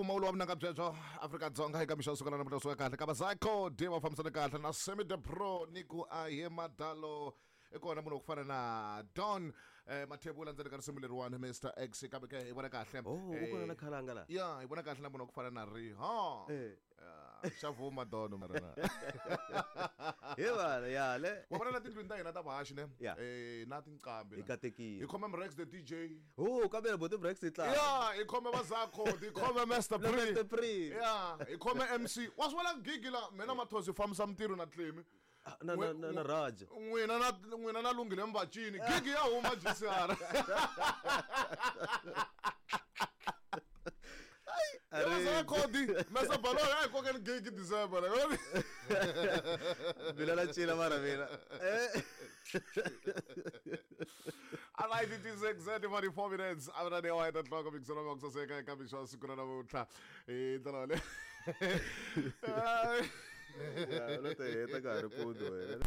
Mpfumawulo wa vunanga byebyo Afrika-Dzonga eka mixo suka na namuntlha suka kahle ka Bazako D va fambisana kahle na Semi the Pro ni ku a hi madalo i kona munhu wa ku fana na Don Mathebula ndzeni ka risimu leriwani Mr X kambe ke hi vona kahle. Oh, u kona na khalanga la. Ya, hi vona kahle na munhu wa ku fana na Riha. Xa vuma Don mara na. He vana ya le. Wa vona la tindlwini ta hina ta vahaxi ne? Ya. Na tinqambi. Hi katekile. Hi khome Mrex the DJ. Oh, kambe bo Mrex i tlanga. Ya, hi khome Bazako, hi khome Master Pre. Master Pre. Ya, hi khome MC. Wa swi vona gigi la mina Mathosi fambisa mintirho na Tlemi. Na na na, na Raj. N'wina na n'wina na Lunghile Mbacini. Gigi ya huma GCR. Khodi Mesa Baloni a hi kokeni gigi December. Mina na cina mara mina. All right, it is exactly 44 minutes. Avra ne wa nhloko mikiselo wa kusaseka eka mixo wa siku ra namuntlha. Hi ndlela yaleyo. Ya, lo te heta ka ha ri mpundzu wena.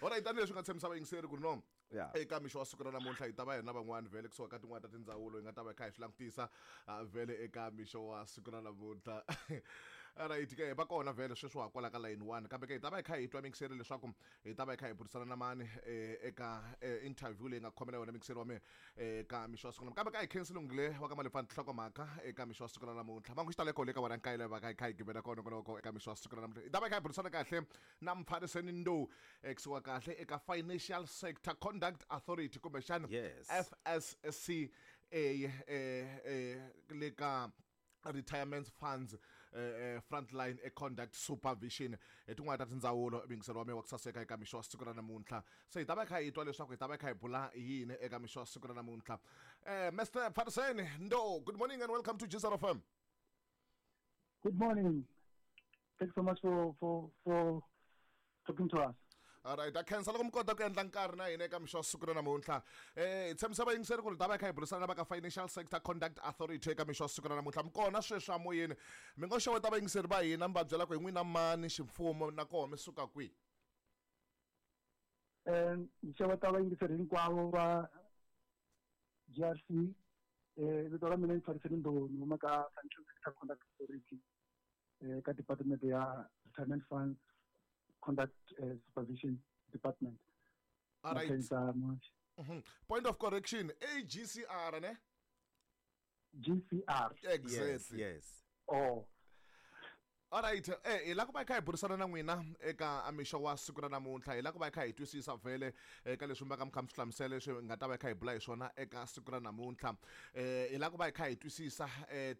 Alright, tanihileswi nga tshembisa vayingiseri ku ri no Ya. eka mixo wa siku ra namuntlha hi ta va hi ri na van'wani vhele kusuka ka tin'wani ta tindzawulo hi nga ta va hi kha hi swi langutisa vhele eka mixo wa siku ra namuntlha. Alright ke va kona vhele sweswi wa kwala ka line 1 kambe ke hi ta va hi kha hi twa mixeri leswaku hi ta va hi kha hi burisana na mani eka interview leyi nga khomela yona mixeri wa mina eka mixo wa siku kambe ka hi khensi Lunghile wa ka Malefani nhlokomhaka eka mixo wa siku ra namuntlha mangu xitaleko le ka wena nkayile va ka hi kha hi gimela kona koloko eka mixo wa siku ra namuntlha hi ta va hi kha hi burisana kahle na Mpfariseni Ndou kusuka kahle eka Financial Sector Conduct Authority kumbexana Yes. FSCA le ka retirement funds frontline e conduct supervision hi tin'wana ta tindzawulo mingiselo wa mina wa ku saseka eka mixo wa siku ra namuntlha se hi ta va hi kha hi twa leswaku hi ta va hi kha hi bula yini eka mixo wa siku ra namuntlha. Mr Pfariseni Ndou, good morning and welcome to GCR FM. Good morning. Thanks so much for talking to us. All right, a khensa loko mi kota ku endla nkarhi na hina eka mixo wa siku ra namuntlha. Hi tshembisa vayingiseri ku ri ta va hi kha hi burisana na va ka Financial Sector Conduct Authority eka mixo wa siku ra namuntlha. Mi kona sweswi amoyeni, mi ngo xeweta vayingiseri va hina mi va byela ku hi n'wina mani ximfumo na koho mi suka kwihi? Ni xeweta vayingiseri hinkwavo va GRC. Vito ra mina i Mpfariseni Ndou, ni huma ka Financial Sector Conduct Authority ka Department ya Retirement Funds Conduct Supervision Department. All right. Makhensa Muhaxi. Point of correction, AGCR ne? GCR. Exactly. Yes, yes. Oh. All right, hi la ku va hi kha hi burisana na n'wina eka mixo wa siku ra namuntlha, hi la ku va hi kha hi twisisa vhele eka leswi mi va ka mi kha mi swi hlamusela leswi hi nga ta va hi kha hi bula hi swona eka siku ra namuntlha. Hi la ku va hi kha hi twisisa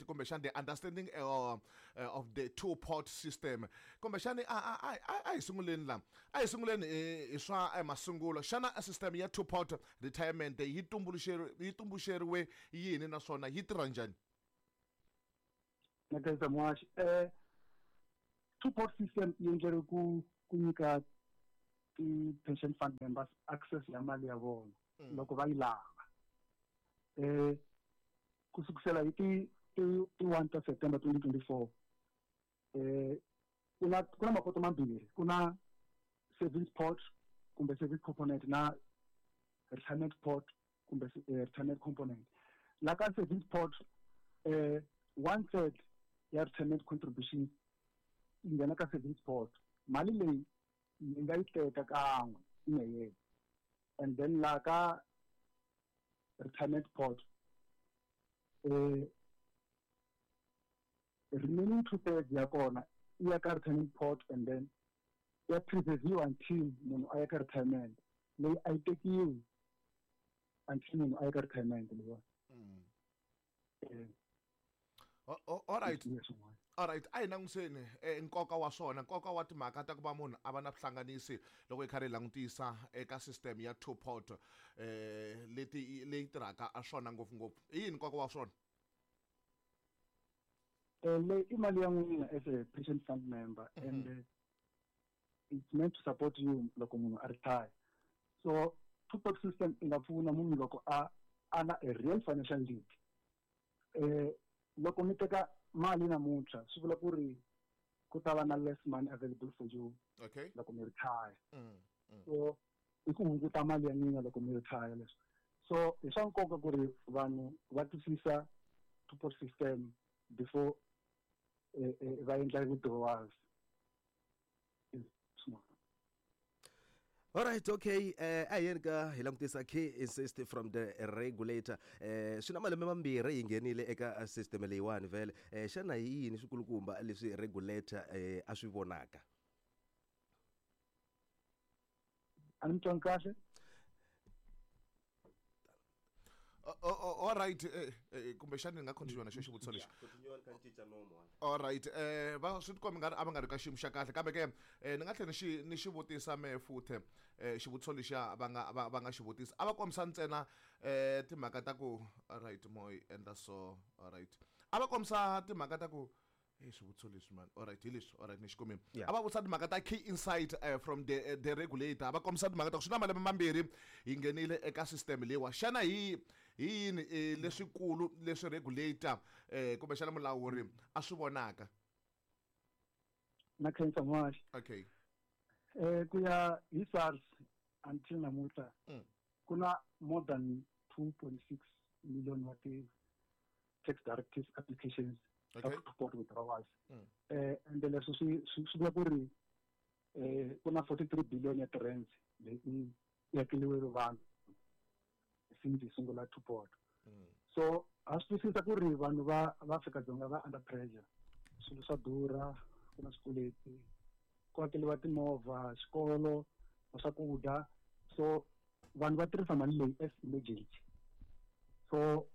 kumbexana the understanding of the two pot system. Kumbexana a hi sunguleni la, a hi sunguleni hi swa masungulo. Xana system ya two pot retirement yi tumbuluxeriwe yini naswona yi tirha njhani? Makhensa Muhaxi. Two pot system yi endleriwe ku nyika ti-pension fund members access ya mali ya vona loko va yi lava. Ku sukisela hi ti 1 ta September 2024, ku na mapoto mambirhi, ku na savings pot kumbe savings component na retirement pot kumbe retirement component. La ka savings pot, 1/3 ya retirement contribution yi nghena ka savings pot. Mali leyi yi nga yi teka kan'we in a year. And then la ka retirement pot, remaining 2/3 ya kona yi ya ka retirement pot, and then ya preserve until munhu a ya ka retirement. Leyi a yi tekiwi until munhu a ya ka retirement leyiwani. All right. Yes, ma'am. All right, a hi langutiseni nkoka wa swona, nkoka wa timhaka ta ku va munhu a va na vuhlanganisi loko hi karhi hi langutisa eka system ya two pot leti leyi tirhaka a swona ngopfungopfu. I yini nkoka wa swona? Leyi i mali ya n'wina as a pension fund member, and it's meant to support you loko munhu a retire. So two pot system yi nga pfuna munhu loko a na a real financial need. Loko mi teka mali namuntlha swi vula ku ri ku ta va na less money available for you loko mi retire. So i ku hunguta mali ya n'wina loko mi retire leswi. So hi swa nkoka ku ri vanhu va twisisa two pot system. before va endla withdrawals. Alright, okay. A yeni ka hi langutisa key insist from the regulator. Swi na malembe mambirhi hi nghenile eka system leyiwani vhele. Xana hi yini swikulukumba leswi regulator a swi vonaka? A ni mi twangi kahle? All right, kumbexani ni nga continue na xo xivutiso lexi. All right, va swi tikombi nga ri a va nga ri ka xiyimo xa kahle, kambe ke ni nga tlhela ni xi vutisa me futhe xivutiso lexiya va nga va nga xi vutisa. A va kombisa ntsena timhaka ta ku all right, mo yi endla so, all right. A va kombisa timhaka ta ku swivutiso leswi man, all right, hi leswi, all right, ni xi kumile. A va vutisa timhaka ta key insight from the regulator. A va kombisa timhaka ta ku swi na malembe mambirhi hi nghenile eka system leyiwa. Xana hi yini leswikulu leswi regulator kumbexana mulawuri a swi vonaka? Na khensa N'waxi. Okay. Ku ya hi SARS until namuntlha ku na more than 2.6 million wa ti tax directive applications support withdrawals. And leswi swi vula ku ri ku na 43 billion ya ti-rands leyi hakeriweke vanhu since hi sungula two pot. So ha swi twisisa ku ri vanhu va Afrika-Dzonga va under pressure. Swilo swa durha, ku na swikweleti, ku hakeriwa timovha, xikolo, swakudya. So vanhu va tirhisa mali leyi as emergency. So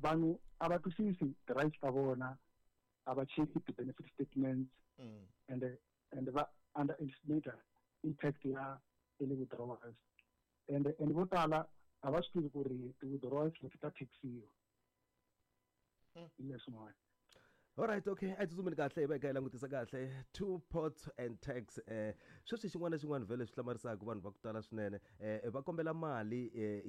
vanhu a va twisisi ti-rights ta vona, a va cheki ti-benefit statements, and va underestimate impact ya early withdrawals. And vo tala a va swi tivi ku ri ti-withdrawals leti ta taxiwa. Hi leswin'wana. Alright, okay. A hi tsutsumeni kahle hi va hi kha hi langutisa kahle two pots and tax. Sweswi xin'wana na xin'wana vhele swi hlamarisaka vanhu va ku tala swinene. Va kombela mali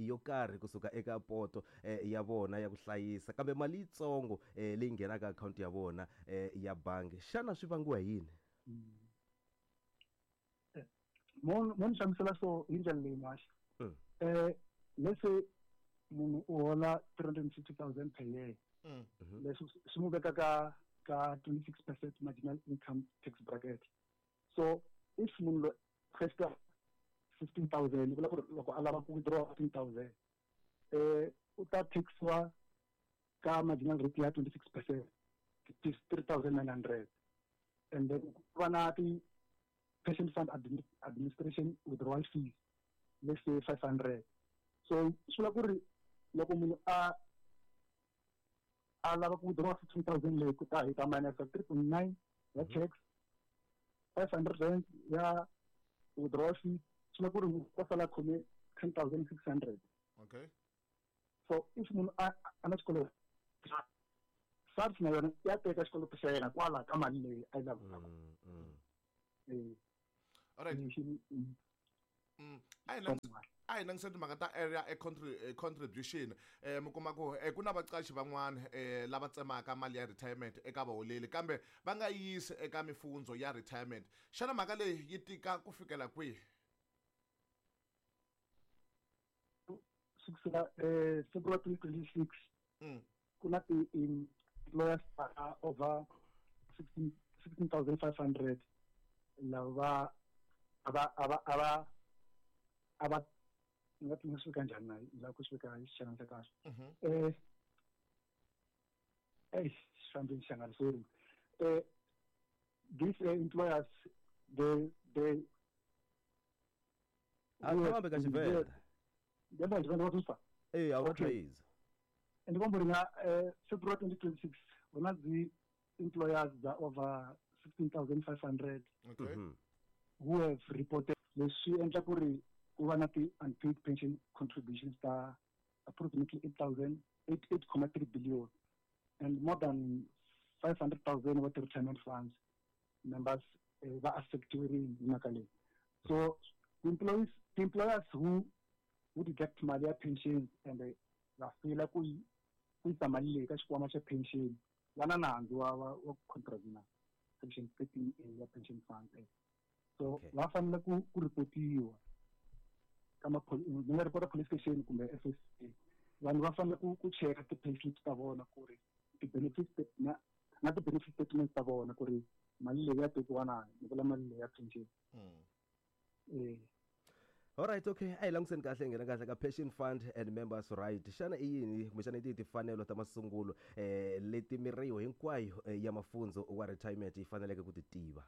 yo karhi kusuka eka poto ya vona ya ku hlayisa, kambe mali yitsongo leyi nghenaka akhawunti ya vona ya bangi. Xana swi vangiwa hi yini? Mo ni hlamusela so hi ndlela leyi N'waxi. Let's say munhu u hola 350,000 per year. Leswi swi n'wi veka ka 26% marginal income tax bracket. So if munhu loyi requesta 15,000, vula ku ri loko a lava ku withdraw 15,000, u ta taxiwa ka marginal rate ya 26%, it is 3,900. And then ku va na ti pension fund administration withdrawal fees, let's say 500. So swi vula ku ri loko munhu a lava ku withdraw 15,000 leyi, ku ta hi ta minus 3.9 ya tax, 500 rand ya withdrawal fee, swi vula ku ri munhu u ta sala khome 10,600. Okay. So if munhu a na xikoloto, SARS na yona ya teka xikoloto xa yena kwala ka mali leyi a yi lavaka. All right. A hi langutiseni timhaka ta area contribution. Mi kuma ku ku na vaqashi van'wana lava tsemaka mali ya retirement eka vaholeli, kambe va nga yisi eka mifundzo ya retirement. Xana mhaka leyi yi tika ku fikela kwihi? Sukela February 2026, ku na ti-employers over 16,500 lava a va a va nga ti swi veka njhani na la ku swi veka hi xixana xa kahle. Xi fambini xangani, sorry. These employers, they A fambe ka Xivenda. Ndemba Xivenda wa twisisa? A wu twisisa. Ndi komba uri nga February 2026 hu na dzi employers dza over 16,500 who have reported. Leswi endla ku ri ku va na ti unpaid pension contributions ta approximately eight thousand eight eight comma three billion and more than 500,000 wa ti-retirement funds members va affectiwile hi mhaka leyi. So the employers who deduct mali ya pension and va fila ku yisa mali leyi ka xikwama xa pension va na nandzu wa contravene section 13A ya Pension Fund Act. So va fanele ku ripotiwa ka ni nga ripota police station kumbe FSA. Vanhu va fanele ku cheka ti-payslips ta vona ku ri ti-benefits na Na ti-benefit statements ta vona ku ri mali leyi ya tekiwa na, ni vula mali leyi ya pension. Eh. Alright, okay, a hi langutiseni kahle, hi nghena kahle ka pension fund and members right. Xana i yini kumbexana i tihi timfanelo ta masungulo leti miriho hinkwayo ya mafundzo wa retirement yi faneleke ku ti tiva?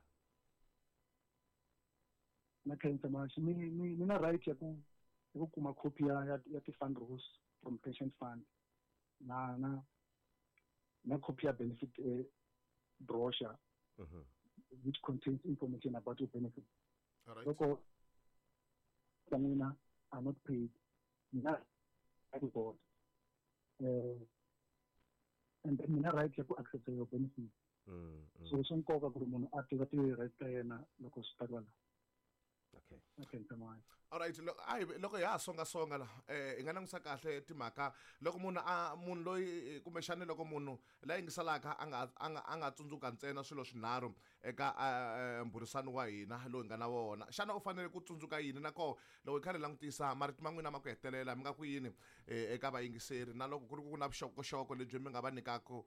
Na khensa maxi, mi na right ya ku kuma copy ya ti-fund rules from pension fund na copy ya benefit brochure which contains information about your benefit. Alright. Loko ta n'wina are not paid, mi na right board and then mi na right ya ku access your benefit. So swa nkoka ku ri munhu a tiva ti-right ta yena loko swi ta kwala. Na khensa maxi. Alright, a hi loko hi ha songasonga la, hi nga langutisa kahle timhaka loko munhu a munhu loyi kumbexani loko munhu la yingiselaka a nga tsundzuka ntsena swilo swinharhu eka mbhurisano wa hina lowu hi nga na wona, xana u fanele ku tsundzuka yini? Na koho loko hi karhi hi langutisa marito ma n'wina ma ku hetelela, mi nga ku yini eka vayingiseri, na loko ku ri ku na vuxokoxoko lebyi mi nga va nyikaku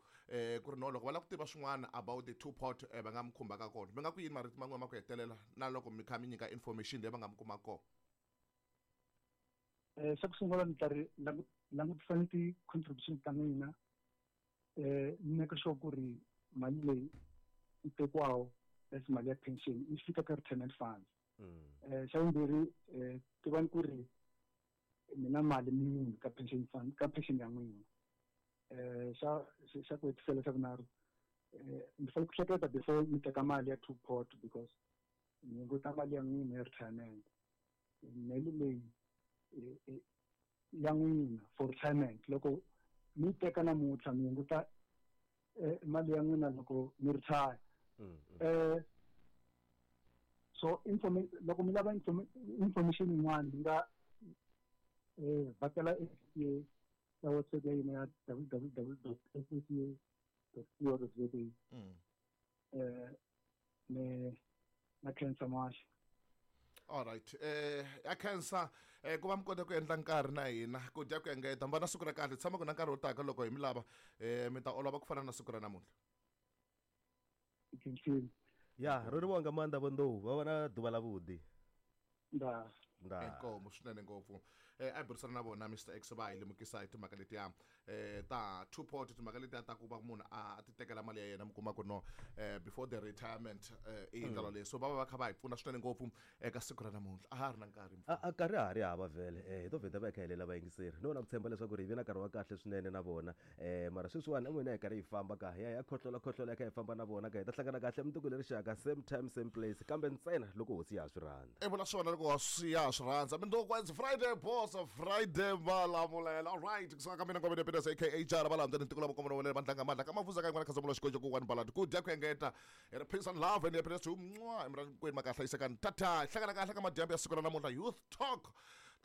ku ri no loko va lava ku tiva swin'wana about the two pot, va nga mi khumbaka kona, mi nga ku yini marito ma n'wina ma ku hetelela na loko mi kha mi nyika information leyi va nga mi kumaka kona? Xa ku sungula ni ta ri langutisani ti-contribution ta n'wina, mi make sure ku ri mali leyi yi tekiwaho as mali ya pension yi fika ka retirement funds. Xa vumbirhi, tivani ku ri mi na mali muni ka pension fund, ka pension ya n'wina. Xa ku hetisela, xa vunharhu, mi fanele ku hleketa before mi teka mali ya two pot because mi hunguta mali ya n'wina ya retirement. Mali leyi ya n'wina for retirement, loko mi yi teka namuntlha, mi hunguta mali ya n'wina loko mi retire. So loko mi lava information yin'wana, mi nga vhakela SSA ka website ya hina ya www.ssa.co.za. Me na khensa maxi. Alright, ya khensa ku va mi kota ku endla nkarhi na hina ku dya ku engeta. Mi va na siku ra kahle, tshama ku na nkarhi wo taka loko hi mi lava, mi ta olova ku fana na siku ra namuntlha. Khensile. Ya ro ri nga maanḓa vho va va na ḓuvha ḽa vhuḓi. Nda. Nda. Inkomu swinene ngopfu. A hi burisana na vona Mr X, va hi lemukisa hi timhaka letiya ta two pot, timhaka letiya ta ku va munhu a ti tekela mali ya yena, mi kuma ku no before the retirement, i ndlela leyi. So va va va kha va hi pfuna swinene ngopfu eka siku ra namuntlha. A ha ri na nkarhi. A nkarhi ha ri hava vhele, hi to vheta va hi kha hi helela vayingiseri no na ku tshemba leswaku ri hi ve na nkarhi wa kahle swinene na vona, mara sweswiwani en'wina hi karhi hi famba ka hi ya hi ya khohlola khohlola hi kha hi famba na vona ka hi ta hlangana kahle mundzuku leri xaka, same time, same place, kambe ntsena loko hosi ya ha swi rhandza. I vula swona, loko hosi ya ha swi rhandza. Mindzuku, it's Friday boss, Friday Malamulele. Alright, kusuka ka mina Ngomene Peters aka Jara Valandza ni tiko la makomona wele vandlanga mandla ka mafuza ka yin'wana khazamulo xikonjo ku one balad ku dya ku engeta hi ri peace and love and happiness to mwa emrani kwenu makahla yisekani tata. Hlangana kahle ka madyambu ya siku ra namuntlha, youth talk.